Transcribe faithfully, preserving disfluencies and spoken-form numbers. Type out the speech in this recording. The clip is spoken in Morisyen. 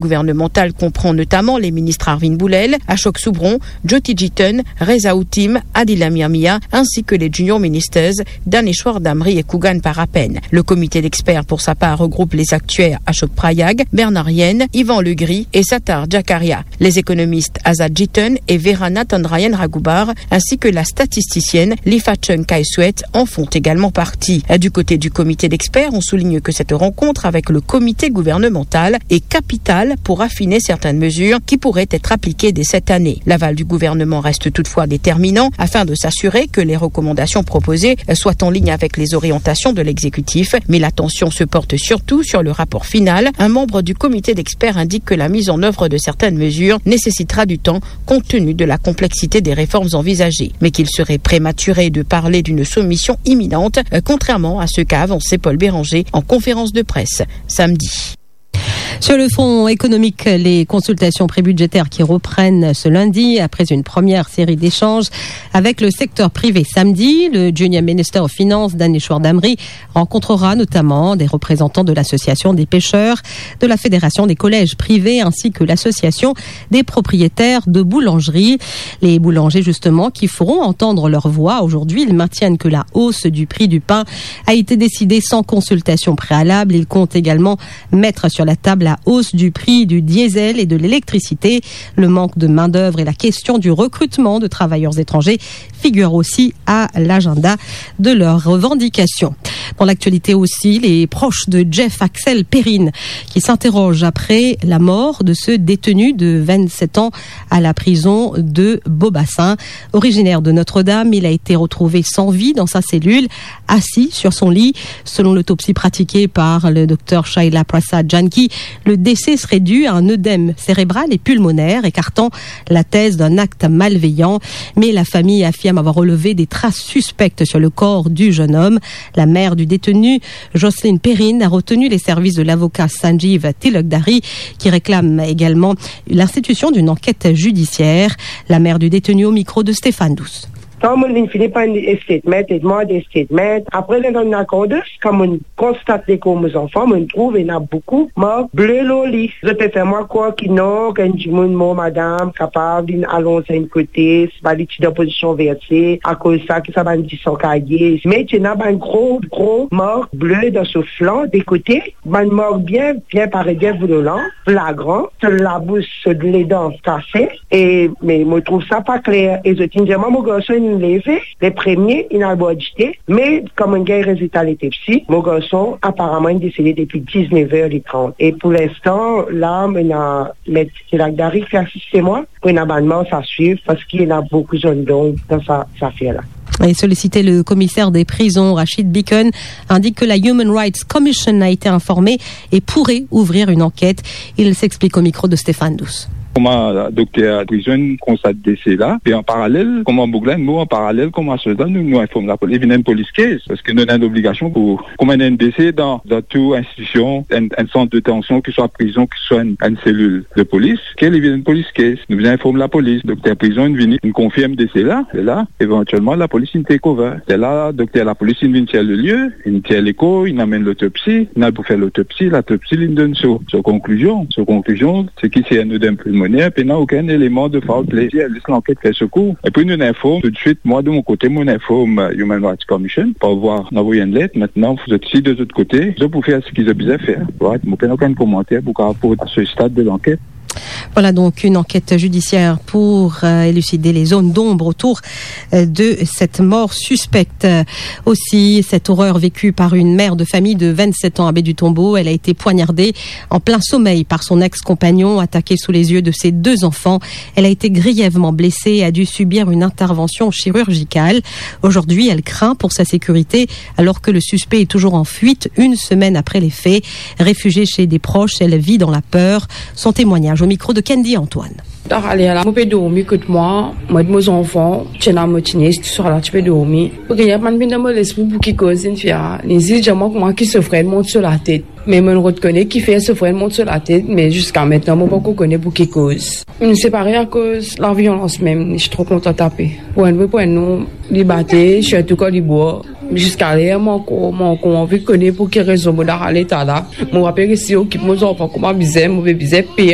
gouvernemental comprend notamment les ministres Arvind Boolel, Ashok Subron, Jyoti Jiten, Reza Uttim, Adila Miramia, ainsi que les junior ministers Daneshwar Damri et Kugan Parappen. Le comité d'experts, pour sa part, regroupe les actuaires Ashok Prayag, Bernard Yen, Ivan Legris et Sattar Jakaria. Les économistes Azad Jiten et Vera Natandarayan Raghubar, ainsi que la statisticienne Lifachung Kaiswet en font également partie. Du côté du comité d'experts, on souligne que cette rencontre avec le comité gouvernemental est capitale pour affiner certaines mesures qui pourraient être appliquées dès cette année. L'aval du gouvernement reste toutefois déterminant afin de s'assurer que les recommandations proposées soient en ligne avec les orientations de l'exécutif, mais l'attention se porte surtout sur le rapport final. Un membre du comité d'experts indique que la mise en œuvre de certaines mesures nécessitera du temps compte tenu de la complexité des réformes envisagées, mais qu'il serait prématuré de parler d'une soumission imminente, euh, contrairement à ce qu'a avancé Paul Bérenger en conférence de presse samedi. Sur le front économique, les consultations prébudgétaires qui reprennent ce lundi après une première série d'échanges avec le secteur privé samedi. Le Junior Minister of Finance, Daneshwar Damri, rencontrera notamment des représentants de l'Association des pêcheurs, de la Fédération des collèges privés ainsi que l'Association des propriétaires de boulangeries. Les boulangers, justement, qui feront entendre leur voix aujourd'hui, ils maintiennent que la hausse du prix du pain a été décidée sans consultation préalable. Ils comptent également mettre sur la table la hausse du prix du diesel et de l'électricité. Le manque de main-d'œuvre et la question du recrutement de travailleurs étrangers figurent aussi à l'agenda de leurs revendications. Dans l'actualité aussi, les proches de Jeff Axel Perrine qui s'interrogent après la mort de ce détenu de vingt-sept ans à la prison de Beaubassin. Originaire de Notre-Dame, il a été retrouvé sans vie dans sa cellule, assis sur son lit. Selon l'autopsie pratiquée par le docteur Shaila Prasad Janki, le décès serait dû à un œdème cérébral et pulmonaire, écartant la thèse d'un acte malveillant. Mais la famille affirme avoir relevé des traces suspectes sur le corps du jeune homme. La mère du détenu, Jocelyne Perrine, a retenu les services de l'avocat Sanjeev Tilakdari, qui réclame également l'institution d'une enquête judiciaire. La mère du détenu au micro de Stéphane Douce. Kan mo'nn fini pran statement, li demande statement. Apre, li donn lakondans, kan mo'nn konstate lekor mo zanfan, mo'nn trouv ena boukou mark ble lor li. Zot pe fer mwa krwar ki non, ki enn dimoun mor, madam, kapav linn alonz enn kote, sipa li ti dan pozision verse, akoz sa ki sa bann disan kaye. Me ti ena bann gro, gro mark ble dan so flan, de kote, bann mark bien, bien parey, bien violan, flagran, so labous, so ledan kase, e, me mo trouv sa pa kler, e zot inn dir mwa mo garson inn leve, le premie, inn al bwar dite, me kan mo'nn gagn rezilta letopsi, mo garson aparaman inn desede depi diznef er e trant. E pou linstan, la, mo ena met Tilakdari ki asiste mwa, pou ena bann mars a swiv, parski ena boukou zonn donb dan sa, sa zafer la. Et sollicité, le commissaire des prisons, Rachid Bikon, indique que la Human Rights Commission a été informée et pourrait ouvrir une enquête. Il s'explique au micro de Stéphane Douce. Kouma dokter prizon konstat dese la, e an paralel, kouma boug la inn mor, an paralel kouma solda, nou, nou inform lapolis, li vinn enn police case, parski nou ena enn obligasion pou, kouma ena enn dese dan, dan tou institusion, enn, enn sant detansion, ki swa prizon, ki swa enn, enn selil de polis, ke li vinn enn police case, nou bizin inform lapolis. Dokter prizon inn vini, inn konfirm dese la, e la, evantielman, lapolis inn take over. E la, dokter lapolis inn vinn tir le lie, inn tir lekor, inn amenn lotopsi, inn al pou fer lotopsi, latopsi linn donn so, so konklizion. So konklizion, se ki se enn oedem pilmoner, pena okenn eleman de foul play. Lis lanket fer so kour. Epi nou inform toutswit, mwa de mo kote, mo inform, euh, Human Rights Commission, par vwa, nou avoy enn let. Aster, zot si de zot kote, zot pou fer seki zot bizin fer. Right? Mo pena okenn komanter pou kapav aport a se stad de lanket. Voilà donc une enquête judiciaire pour, euh, élucider les zones d'ombre autour, euh, de cette mort suspecte. Euh, aussi, cette horreur vécue par une mère de famille de vingt-sept ans à Baie du Tombeau. Elle a été poignardée en plein sommeil par son ex-compagnon, attaquée sous les yeux de ses deux enfants. Elle a été grièvement blessée et a dû subir une intervention chirurgicale. Aujourd'hui, elle craint pour sa sécurité alors que le suspect est toujours en fuite une semaine après les faits. Réfugiée chez des proches, elle vit dans la peur. Son témoignage au micro de Candy Antoine. Tar ale la, mo pe dormi kot mwa, mo ek mo zanfan, ti ena mo ti nies, tousala ti pe dormi. Rien pa'nn vinn dan mo lespri pou ki koz linn fer. Li zis dir mwa kouma ki so frer mont so latet. Me mo'nn rod kone kifer so frer mont so latet, me ziska aster mo pankor kone pou ki koz. Nou separe akoz laviolans mem, li ti tro kontan tape. Pou enn wi, pou enn non, li bate, sirtou kan li bwar. Ziska ler mo ankor, mo ankor anvi kone pou ki rezon mo dan sa leta la. Mo pa pe resi okip mo zanfan kouma bizin, mo pe bizin pey